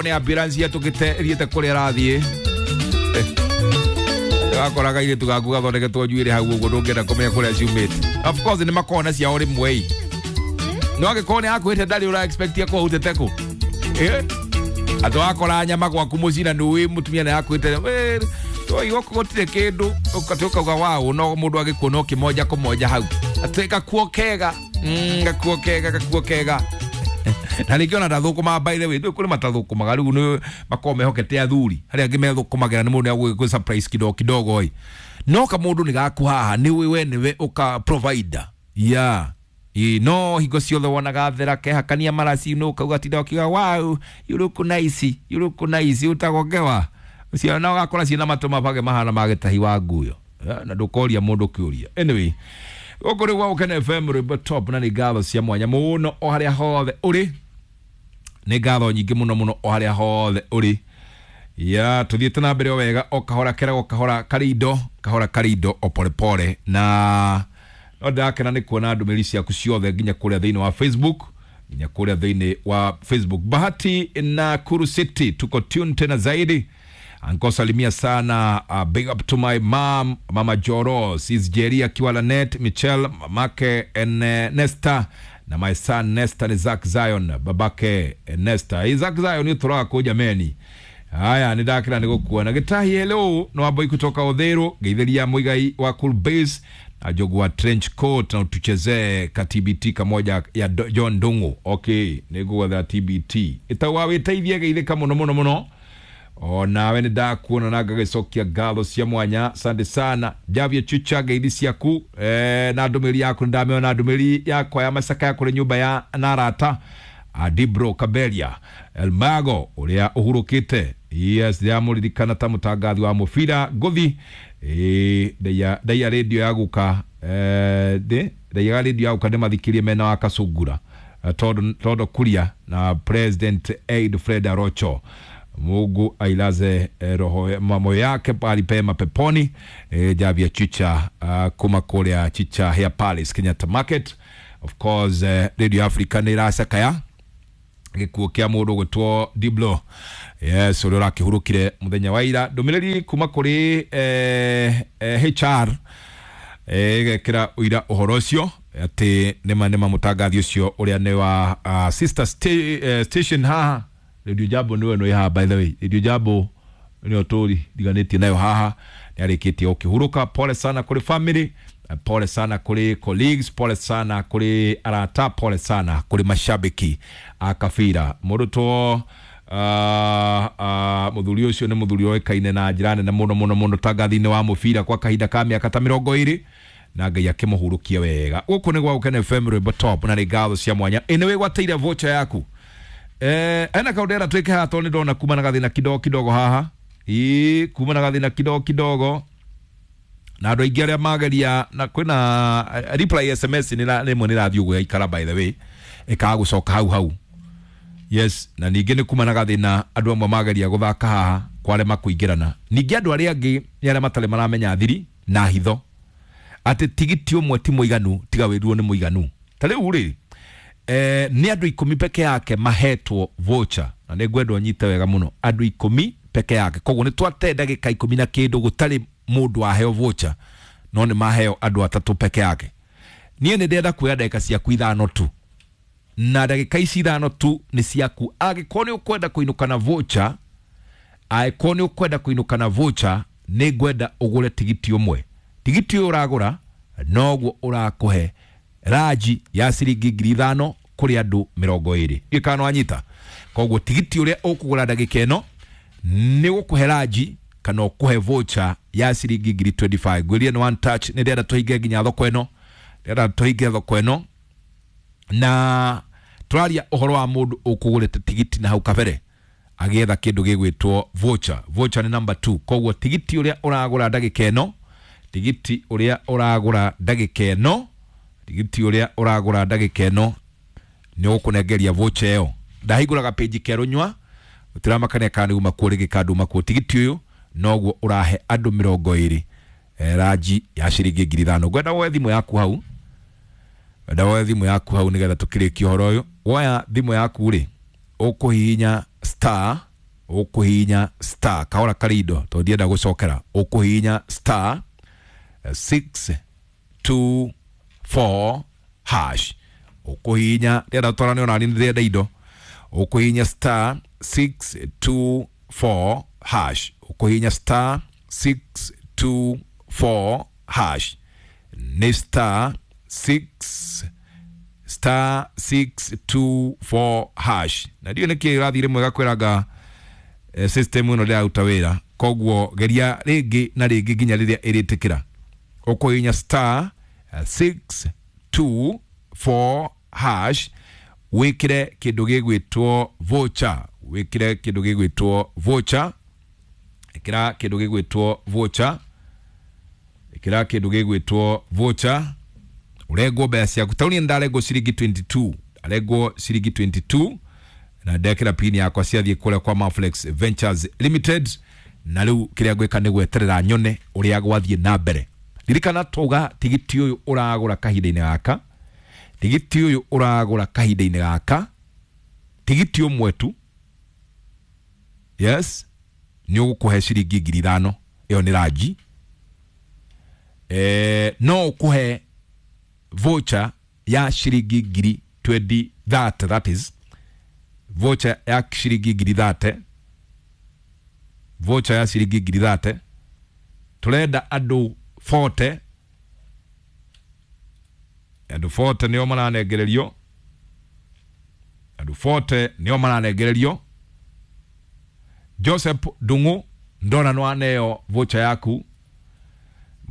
Nĩ ambulance yatũkĩte ĩthiĩte kũrĩa ĩrathiĩ. Wakora kairĩtu gaku gathondeketwo njuĩrĩ hau ũguo, ndũngĩenda kũmenya kũrĩa ciumĩte. Of course nĩ makoragwo na ciao rĩmwe ĩ, no angĩkorwo nĩ akwĩte ndarĩ ũra expect akũhutĩte kũ. Eh? Atĩ wakora nyama gwaku mũciĩ na nĩũĩ mũtumia nĩ akwĩte twaigua gũtirĩ kĩndũ, ũkatĩ ũkauga waũ, no mũndũ agĩkuona ũkĩmonja kũmonja hau atĩ gakuo kega. Gakuo kega, gakuo kega. Na rĩngĩ ona ndathũkũmaga, by the way, ndũĩ kũrĩ matathũkũmaga, rĩu nĩ makoragwo mehokete athuri, harĩa angĩ methũkũmagĩra nĩ mũndũ nĩ surprise kidogo kidogo ĩ, no kamũndũ nĩ gaku haha nĩ ũĩ we nĩwe ũka provider yeah. Ĩ, no hingo ciothe wonaga thera kehakania maraci no ukauga tinda ũkiuga, "Wow, you look nice, you look nice." Utagongewa ciana ũgakora ciĩna matũ mabage mahana ma gĩtahi wa nguyo. Eh, na ndũkoria mũndũ kĩũria. Anyway, gũkũ nĩ gwa Gũkena FM, rwĩmbo top, na nĩ ngatho cia mwanya mũno o harĩa hothe ũrĩ, nĩ ngatho nyingĩ mũno mũno o harĩa hothe ũrĩ. Ya tũthiĩte na mbere o wega, o kahora keragwo kahora karĩ indo, kahora karĩ indo, o polepole, na no ndĩrakena nĩ kuona ndũmĩrĩri ciaku ciothe nginya kũrĩa thĩinĩ wa Facebook, nginya kũrĩa thĩinĩ wa Facebook. Bahati na Kuru City, tuko tune tena zaidi. Anko, salimia sana, big up to my mom, Mama Joro, sis Jerry akiwa Lanet, Michelle mamake en, Nesta, na my son Nesta ni Zack Zion, babake Nesta. Zack Zion ũtũraga kũ jameni? Haya, nĩ ndakĩra nĩ gũkuona. Gĩtahi, hello, no wamboi kutoka Odhero, geithĩria Muigai wa Cool Base na Njogu wa trench coat, na utuchezee ka TBT kamoja ya John Ndung'u. Okay, nĩ ngũgwetha TBT ĩtagwa wĩteithie, geithĩka mũno mũno mũno. O nawe nĩ ndakuona na ngagĩcokia ngatho cia mwanya, asante sana. Javia Chucha, ngeithi ciaku na ndũmĩrĩri yaku nĩ ndamĩona, ndũmĩrĩri yakwa ya macaka ya kũrĩ nyũmba ya narata Adibro Kaberia Elmago ũrĩa ũhurũkĩte. Yes, ndĩramũririkana ta mũtangathi wa mũbira ngũthi. Ndaiya radio ya guka, ndaiyaga radio ya guka ndĩmathikirie mena wa Kasungura. Todo Kuria na President Aid Fred Arocho, Mungu ailaze roho moyo yake pahali pema peponi. Javia Chicha kuma kũrĩa Chicha Hair Palace, Kenyatta Market. Of course, Radio Africa nĩ ĩracakaya gĩkuũ kĩa mũndũ gwĩtwo Diblo, yes, ũrĩa ũrakĩhurũkire mũthenya wa ira. Ndũmĩrĩri kuma kũrĩ HR ĩgekĩra ũira ũhoro ũcio atĩ nĩma nĩma mũtangathi ũcio ũrĩa nĩ wa sister station haha Radio Jambo, nĩwe nĩ haha, by the way, Radio Jambo nĩyo tũri ndiganĩtie nayo haha, nĩ arĩkĩtie gũkĩhurũka. Pole sana kũrĩ family, pole sana kũrĩ colleagues, pole sana kũrĩ arata, pole sana kũrĩ mashabiki a kabira. Mũndũ two mũthuri ũcio nĩ mũthuri ũĩkaine na njĩra nene mũno mũno mũno tangathi-inĩ wa mũbira kwa kahinda ka mĩaka ta 20, na Ngai akĩmũhurũkia wega. Gũkũ nĩ gwa Gũkena FM, rwĩmbo top, na nĩ ngatho cia mwanya. Ĩ nĩ wĩgwatĩire voucher yaku? Ena kaũndũ twĩke haha tondũ nĩ ndona kuma na gathĩna kidogo kidogo haha, ĩ kuma na gathĩna kidogo kidogo na andũ aingĩ arĩa mageria na kwĩna reply SMS nĩ rĩmwe nĩ rathiĩ ũguo yaikara, by the way, ĩkaga gũcoka hau hau. Yes, na ningĩ nĩ kuma na gathĩna andũ amwe mageria gũthaka haha kwarema kũingĩrana. Ningĩ andũ arĩa angĩ nĩ arĩa matarĩ maramenya thiri na hitho atĩ tigiti ũmwe ti mũiganu, tiga wĩruo nĩ mũiganu. Ta rĩu rĩ, nĩ andũ 10 peke yake mahetwo voucher, na nĩ ngwenda ũnyite wega mũno, andũ 10 peke yake. Koguo nĩ twate ndagĩka 10 na kĩndũ gũtarĩ mũndũ waheo voucher, no nĩ maheo andũ 3 peke yake. Niĩ nĩ ndĩrenda kuoya ndagĩka ciaku 5 tu, na ndagĩka ici 5 tu nĩ ciaku. Angĩkorwo nĩ ũkwenda kũinũka na voucher, angĩkorwo nĩ ũkwenda kũinũka na voucher, nĩ ngwenda ũgũre tigiti ũmwe. Tigiti ũyũ ũragũra noguo ũrakũhe ranji ya ciringi 5,000 kũrĩ andũ 20. Ndiũĩ kana nĩwanyita. Koguo tigiti ũrĩa ũkũgũra ndagĩka ĩno nĩ gũkũhe ranji kana ũkũhe voucher ya ciringi ngiri 25. Ngwĩrire nĩ one touch, nĩ ndĩrenda tũhinge nginya thoko ĩno, ndĩrenda tũhinge thoko ĩno, na tũraria ũhoro wa mũndũ ũkũgũrĩte tigiti na hau kabere agĩetha kĩndũ gĩgwĩtwo voucher. Voucher nĩ number 2. Koguo tigiti ũrĩa ũragũra ndagĩka ĩno, tigiti ũrĩa ũragũra ndagĩka ĩno, tigiti ũrĩa ũragũra ndagĩka ĩno nĩ ũgũkũnengeria voucher ĩyo. Ndahingũraga page kerũ nyua gũtiramakania kana nĩ uma kuo rĩngĩ kana nduma kuo. Tigiti ũyũ noguo ũrahe andũ 20 ranji ya ciringi 5,000. Ngwenda woe thimũ yaku hau, ngwenda woe thimũ yaku hau nĩgetha tũkĩrĩkie ũhoro ũyũ. Woya thimũ yaku rĩ, Ũkũhihinya star, ũkũhihinya star kahora karindo tondũ ndienda gũcokera. Ũkũhihinya star 6 2 4 hash. Ũkũhihinya, ndĩrenda twarane onani ndĩrenda indo. Ũkũhihinya star 6 2 4 hash. Ũkũhihinya star 6 2 4 hash. Nĩ star 6 star 6 2 4 hash. Na ndiũ nĩkĩ ĩrathiĩ rĩmwe gakwĩranga system ĩno ndĩraruta wĩra, koguo geria rĩngĩ na rĩngĩ nginya rĩrĩa ĩrĩtĩkĩra. Ũkũhihinya star 6 2 4 hash, wĩkĩre kĩndũ gĩgwĩtwo voucher, wĩkĩre kĩndũ gĩgwĩtwo voucher, ĩkĩra kĩndũ gĩgwĩtwo voucher, ĩkĩra kĩndũ gĩgwĩtwo voucher, ũrengwo mbeca ciaku. Tauni ndarengwo ciringi 22, arengwo ciringi 22 na ndekĩra pin yakwa ciathiĩ kũrĩa kwa Maflex Ventures Limited. Na rĩu kĩrĩa ngwĩka nĩ gweterera nyone ũrĩa gwathiĩ na mbere. Ririkana twauga tigiti ũyũ ũragũra kahinda-inĩ gaka, tigiti ũyũ ũragũra kahinda-inĩ gaka, tigiti ũmwe tu, yes, nĩ ũgũkũhe ciringi 5,000. Ĩyo nĩ ranji. No ũkũhe voucher ya ciringi ngiri 20 30, that is voucher ya ciringi ngiri 30, voucher ya ciringi ngiri 30. Turenda andũ 40, andũ 40 nĩo maranengererio, andũ 40 nĩo maranengererio. Joseph Ndung'u ndona no aneo voucher yaku.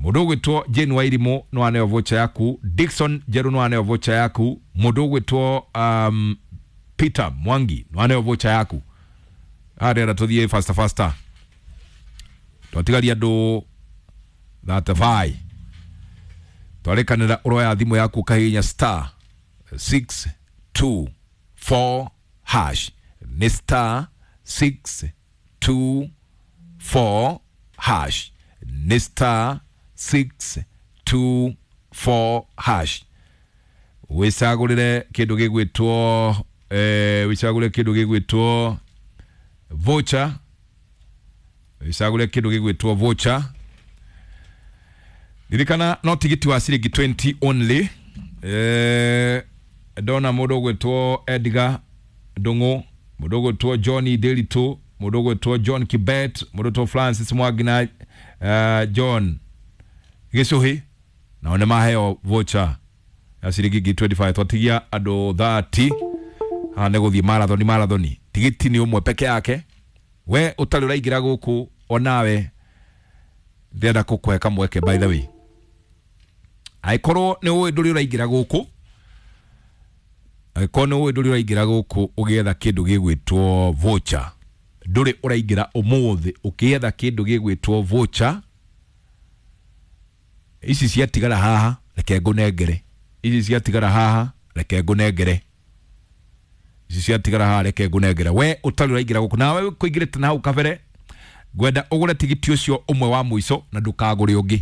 Mũndũ ũgwĩtwo Jane Wairimu no aneo voucher yaku. Dickson Njeru no aneo voucher yaku. Mũndũ ũgwĩtwo Peter Mwangi no aneo voucher yaku. Arera tũthiĩ faster faster, twatigaria andũ 35. Twarĩkanĩra ũroya thimũ yaku ũkahihinya star 6 2 4 hash. Nĩ star 6 2 4 hash. Nĩ star 6 2 4 hash. Wĩcagũrĩre kĩndũ gĩgwĩtwo wĩcagũrĩre kĩndũ gĩgwĩtwo voucher, wĩcagũrĩre kĩndũ gĩgwĩtwo voucher. Ririkana no tigiti wa ciringi 20 only. Ndona mũndũ ũgwĩtwo Edgar Ndung'u, mũndũ ũgwĩtwo Johnny Ndiritu, mũndũ ũgwĩtwo John Kibet, mũndũ ũgwĩtwo Francis Mwangi na John Gĩcũhĩ, nao nĩ maheo voucher ya ciringi ngiri 25. Twatigia andũ 30 haha nĩ gũthiĩ marathoni marathoni. Tigiti nĩ ũmwe peke yake. We ũtarĩ ũraingĩra gũkũ onawe ndĩrenda gũkũhe kamweke, by the way, angĩkorwo nĩ ũĩ ndũrĩ ũraingĩra gũkũ, angĩkorwo nĩ ũĩ ndũrĩ ũraingĩra gũkũ ũgĩetha kĩndũ gĩgwĩtwo voucher, ndũrĩ ũraingĩra ũmũthĩ ũkĩetha kĩndũ gĩgwĩtwo voucher, ici ciatigara haha reke ngũnengere, ici ciatigara haha reke ngũnengere, ici ciatigara haha reke ngũnengere. We ũtarĩ ũraingĩra gũkũ nawe kũingĩrĩte na hau kabere, ngwenda ũgũre tigiti ũcio ũmwe wa mũico na ndũkagũre ũngĩ.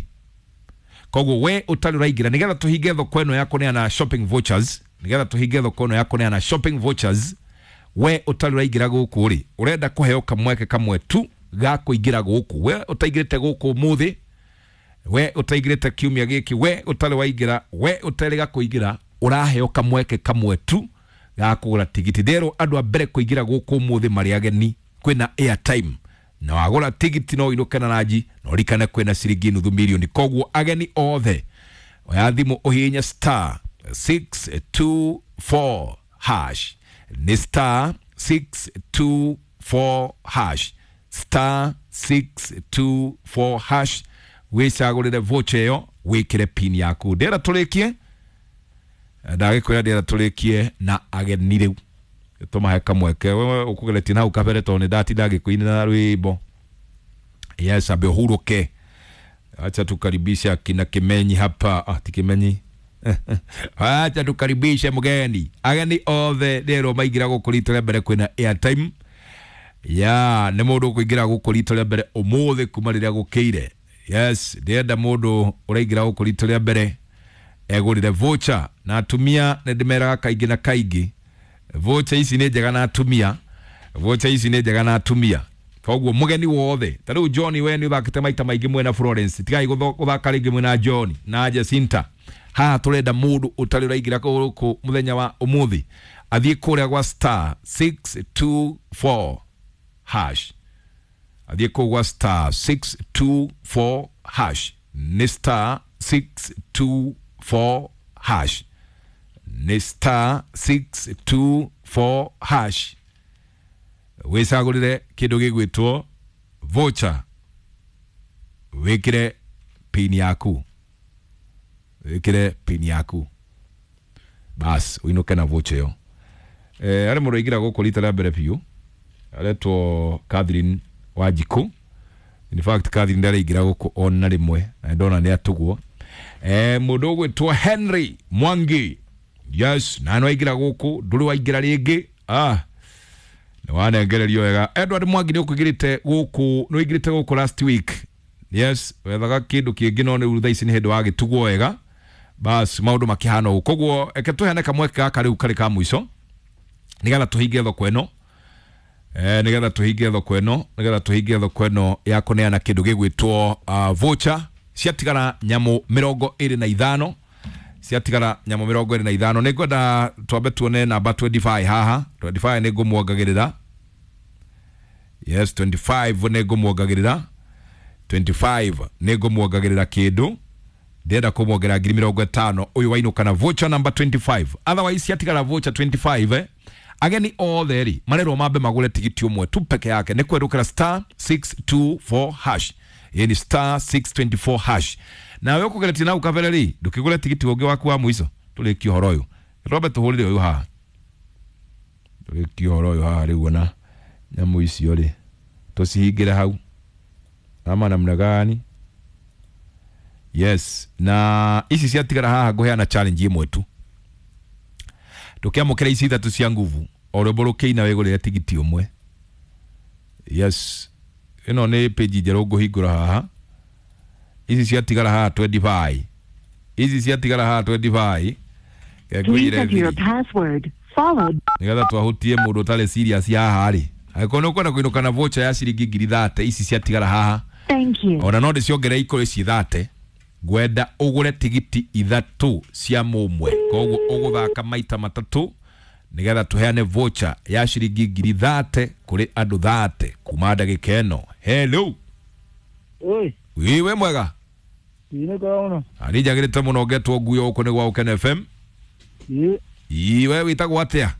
Koguo we ũtarĩ ũraingĩra, nĩgetha tũhinge thoko ĩno ya kũneana shopping vouchers, nĩgetha tũhinge thoko ĩno ya kũneana shopping vouchers, we ũtarĩ ũraingĩra gũkũ rĩ, ũrenda kũheo kamweke kamwe tu ga kũingĩra gũkũ. We ũtaingĩrĩte gũkũ ũmũthĩ, we ũtaingĩrĩte kiumia gĩkĩ, we ũtarĩ waingĩra, we ũterĩga kũingĩra, ũraheo kamweke kamwe tu ga kũgũra tigiti. Nderwo andũ a mbere kũingĩra gũkũ ũmũthĩ marĩ ageni, kwĩna airtime na wagũra tigiti no ũinũke na ranji na ũrikane kwĩna ciringi nuthu mirioni. Koguo ageni othe oya thimũ ũhihinye star 6 2 4 hash. Nĩ star 6 2 4 hash, star 6 2 4 hash, wĩcagũrĩre voucher ĩyo wĩkĩre pin yaku. Ndĩrenda tũrĩkie, ndagĩkwĩra ndĩrenda tũrĩkie na ageni rĩu tũmahe kamweke. Wewe ũkũgeretie na hau kabere tondũ nĩ ndatinda ngĩkũinĩra rwĩmbo. Yes, ambe ũhurũke. Acha tukaribishe akina Kimenyi hapa. Ah, ti Kimenyi. Acha tukaribishe mgeni. Ageni othe rero maingĩra gũkũ rita rĩa mbere kwĩna airtime. Ya, nĩ mũndũ ũkũingĩra gũkũ rita rĩa mbere ũmũthĩ kuma rĩrĩa gũkĩire. Yes, ndĩrenda mũndũ ũraingĩra gũkũ rita rĩa mbere egũrĩre voucher. Na atumia nĩ ndĩmeraga kaingĩ na kaingĩ, Voucher ici nĩ njega na atumia, voucher ici nĩ njega na atumia. Koguo mũgeni wothe ta rĩu John, we nĩ ũthakĩte maita maingĩ mwena Florence, tigai gũthaka rĩngĩ mwena John na Jacinta. Haha tũrenda mũndũ ũtarĩ ũraingĩra gũkũ mũthenya wa ũmũthĩ athiĩ kũrĩa gwa star 624 hash, athiĩ kũu gwa star 624 hash, nĩ star 624 hash, nĩ star 624 hash, wĩcagũrĩre kĩndũ gĩgwĩtwo voucher, wĩkĩre pin yaku, wĩkĩre pin yaku, bas ũinũke na voucher ĩyo. Arĩ mũndũ aingĩra gũkũ rita rĩa mbere biũ aretwo Catherine Wanjikũ. In fact Catherine ndaraingĩra gũkũ ona rĩmwe na ndona nĩ atugwo. Mũndũ ũgwĩtwo Henry Mwangi, yes, na nĩ waingĩra gũkũ, ndũrĩ waingĩra rĩngĩ, nĩ wanengererio wega. Edward Mwangi nĩ ũkũingĩrĩte gũkũ, nĩ ũingĩrĩte gũkũ last week, yes, wethaga kĩndũ kĩngĩ no rĩu thaa ici nĩ hĩndĩ wagĩtugwo wega, bas maũndũ makĩhana ũguo. Koguo eke tũheane kamweke gaka rĩu karĩ ka mũico nĩgetha tũhinge thoko ĩno, nĩgetha tũhinge thoko ĩno, nĩgetha tũhinge thoko ĩno ya kũneana kĩndũ gĩgwĩtwo voucher. Ciatigara nyamũ 25, ciatigara nyamũ 25. Nĩ ngwenda twambe tuone namba 25 haha. 25 nĩ ngũmuongagĩrĩra, yes, 25 nĩ ngũmuongagĩrĩra, 25 nĩ ngũmuongagĩrĩra kĩndũ, ndĩrenda kũmuongerera 50,000 ũyũ wainũka na voucher number 25. Otherwise ciatigara voucher 25, ageni othe rĩ marerwo mambe magũre tigiti ũmwe tu peke yake, nĩ kwerũkĩra star 624 hash, yani star 624 hash. Nawe ũkũgeretie nau kabere rĩ, ndũkĩgũre tigiti ũngĩ waku wa mũico, tũrĩkie ũhoro ũyũ, twambe tũhũrĩre ũyũ haha, tũrĩkie ũhoro ũyũ haha rĩu. Ona nyamũ icio rĩ tũcihingĩre hau ama namna gani? Yes, na ici ciatigara haha ngũheana challenge ĩmwe tu, ndũkĩamũkĩra ici ithatũ cia nguvu, o rwĩmbo rũkĩina wĩgũrĩre tigiti ũmwe. Yes, ĩno nĩ page njerũ ngũhingũra haha. Ici ciatigara haha 25, ici ciatigara haha 25. Please enter your password followed nĩgetha twahutie mũndũ ũtarĩ serious haha rĩ, angĩkorwo nĩ ũkwenda kũinũka na voucher ya ciringi 30,000, ici ciatigara haha, Thank you. ona no ndĩciongerere ikũrĩ ci 30, ngwenda ũgũre tigiti ithatũ cia mũmwe, koguo ũgũthaka maita matatũ nĩgetha tũheane voucher ya ciringi 30,000 kũrĩ andũ 30 kuma ndagĩka ĩno. Hello. Oi, wiwe mwega? Ine kaona. Ani njagĩrĩte mũno, ngetwo nguyo gũkũ nĩ gwa Ũkene FM. Ĩ, iwe wĩtagwo atĩa?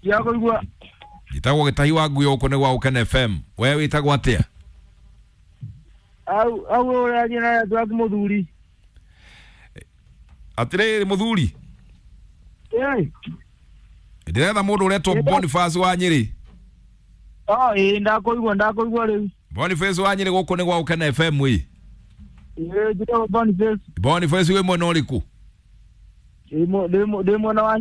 ya kuigua. Njĩtagwo Gĩtahi wa nguyo gũkũ nĩ gwa Ũkene FM, we wĩtagwo atĩa? Au au ũraria na andũ aku mũthuri. Atĩrĩrĩ mũthuri, Ĩ, ndĩretha mũndũ ũretwo Boniface wa Nyĩrĩ. oh, ĩ ndakũigua, ndakũigua rĩu. Boniface wa Nyĩrĩ gũkũ nĩ gwa Ũkene FM ĩ. Ĩ, njĩtagwo Boniface. Boniface wĩ mwena ũrĩkũ? Ndĩ mwena wa